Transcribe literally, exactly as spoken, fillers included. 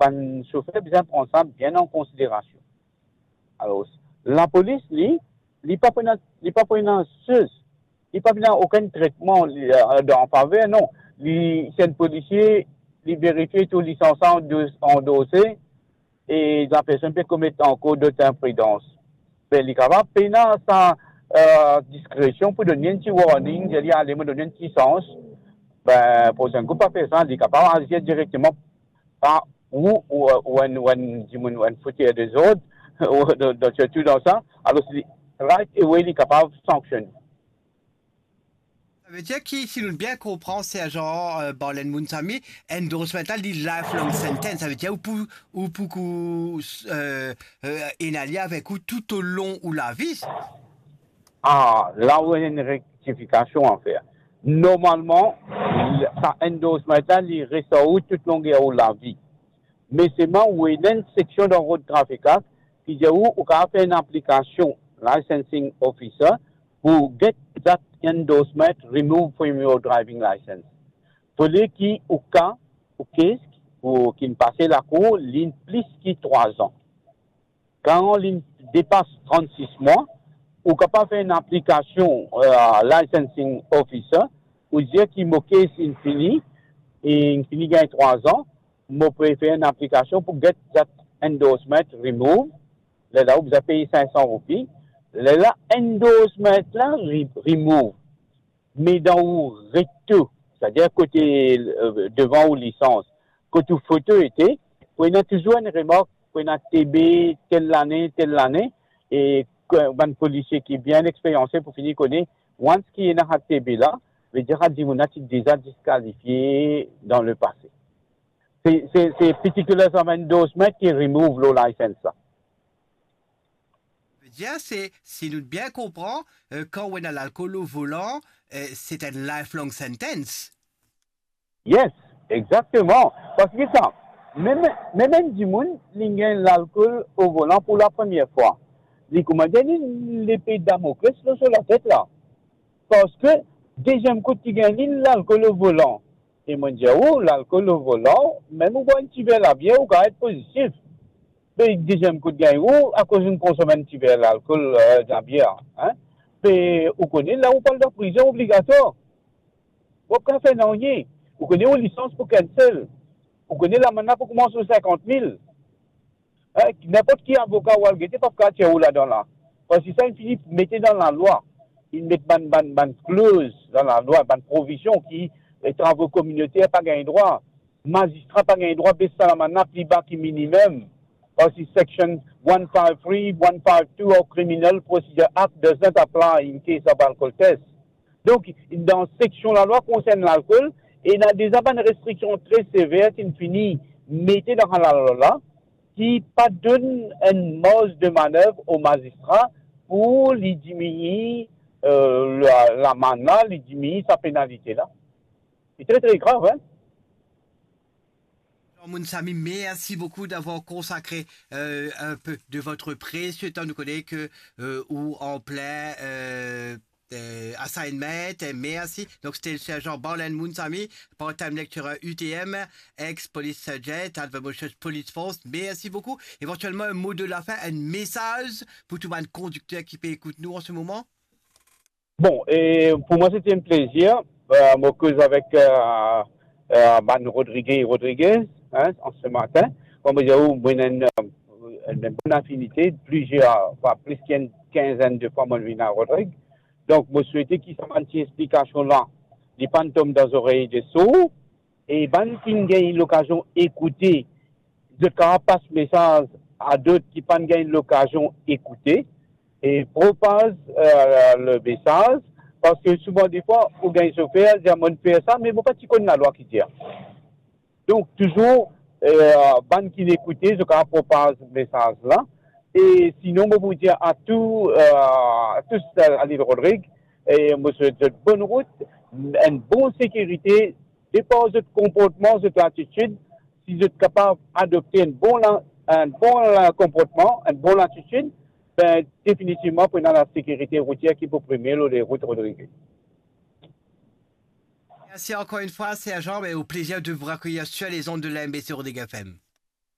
bann sofer bizin pran sa bien an konsiderasion. Alor, lapolis, li, li pa pou ena, li pa pou ena sez, li pa pou ena okenn tretman, li, eh, dan faver, non. Li, si enn polisie, li verifie tou lisans la andose, e lapersonn pe komet ankor dot inpridans. Be, li kapav pena sa, eh, diskresion pou donn li enn ti warning, dir li, ale, mo donn li enn ti sans. Be, prosenn kou pa fer sa, li kapav azir direkteman par ou, ou, ou enn, ou enn dimoun, ou enn fouter dezord, ou dan, dan, sirtou dan sa, alor li, right away, li kapav sanksione. Savedir ki, si nou bien konpran, Serjan, eh, Barlen Moonsamy, endorsement la, li lifelong sentence. Savedir ou pou, ou pou kou, eh, eh, ena li avek ou toutalong ou lavi. Ah, la ou ena enn rektifikasion a fer. Normalman, sa endorsement la, li res ar ou tou longer ou lavi. Me selman ou ena enn seksion dan Road Traffic Act ki dir ou, ou kapav fer enn aplikasion, licensing officer, pou get that endorsement removed from your driving license. Fode ki ou ka, ou kesk, ou ki'nn pase lakour, li'nn plis ki trwa an. Kan li'nn depas trannsis mwa, ou kapav fer enn aplikasion, eh, licensing officer, ou dir ki mo case inn fini, e inn fini gagn trwa an, mo pe fer enn aplikasion pou get that endorsement remove. Lerla ou bizin pey sink san roupi. Lerla endorsement la re-, remove. Me dan ou recto, setadir kote, eh, devan ou lisans, kot ou foto ete, pou ena touzour enn remark, pou ena T B, tel lane, tel lane, e ke bann polisie ki bien experyanse pou fini kone, once ki ena sa T B la, vedir sa dimoun la ti deza diskalifie dan lepase. Se, se, se particular endorsement ki remove lor license la. Vedir se, si nou bien konpran, eh, kan ou ena lalkol o volan, eh, se enn lifelong sentence. Yes, exakteman. Parski sa, mem, mem enn dimoun, li gagn lalkol o volan pou lapremier fwa. Li koumsa gagn enn lepe Damokles lor so latet la. Parski deziem kout ki gagn li, lalkol o volan. E mo dir ou, lalkol o volan, mem ou bwar enn ti ver labier, ou kapav et pozitif. Be deziem kout gagn ou, akoz ou konsom enn ti ver lalkol, eh, labier, hein. Be ou kone, la ou pou al dan prizon obligatwar. Ou pa kapav fer nanye. Ou kone ou lisans pou cancel. Ou kone lamann la pou koumans lor sinkant mil. Hein, ninport ki avoka ou al gete, pa pou kapav tir ou ladan la. Parski sa inn fini mete dan lalwa. Inn met bann, bann, bann kloz dan lalwa, bann provizion ki, eh, travo kominoter pa gagn drwa. Mazistra pa gagn drwa bes sa lamann la pli ba ki minimem. Parski section one five three, one five two of Criminal Procedure Act does not apply in case of alcohol test. Donk, dan seksion lalwa konsern lalkol, ena deza bann restriksion tre sever ki'nn fini mete dan sa lalwa la, ki pa donn enn marz de manev o mazistra pou li diminie, eh, la, lamann la, li diminie sa penalite la. Se tre, tre grav, hein. Jean Moonsamy, merci beaucoup d'avoir consacré, euh, un peu de votre précieux temps. Nous connaissons que, euh, ou en plein, euh, euh, assignment. Merci. Donc, c'était le sergent Barlen Moonsamy, part-time lecturer U T M, ex-police sergeant, advermotions police force. Merci beaucoup. Éventuellement, un mot de la fin, un message pour tout le monde conducteur qui peut écouter nous en ce moment. Bon, e pou mwa, se ti enn plezir. Euh, mo koz avek, euh, euh, bann Rodriguez, Rodriguez, hein, an se matin. Kouma mo dir ou, mo ena enn, euh, enn bon afinite, plizier fwa, plis ki enn kinzenn de fwa, mo vinn a Rodrig. Donk, mo swete ki sa bann ti explikasion la, li pa'nn tom dan zorey de sour. E bann ki gagn lokazion ekoute, zot kapav pas mesaz a dot ki pa'nn gagn lokazion ekoute, e propaz, euh, le mesaz, parski souvan defwa, ou gagn sofer, dir, "Mo fer sa, me mo pa ti konn lalwa ki dir." Donk, touzour, euh, bann ki ekoute, zot kapav propaz mesaz la. E sinon, mo pou dir a tou, euh, a tou, euh, a Lil Rodrig, e mo swet zot bonn rout, enn bon sekirite, depar zot konportman, zot latitid, si zot kapav adopte enn bon la-, enn bon la-, konportman, enn bon latitid, be, definitivman, pou ena lasekirite routier ki pou prime lor lerout Rodrig. Merci encore une fois, sergent, et au plaisir de vous accueillir sur les ondes de la M B C Rodrigues F M.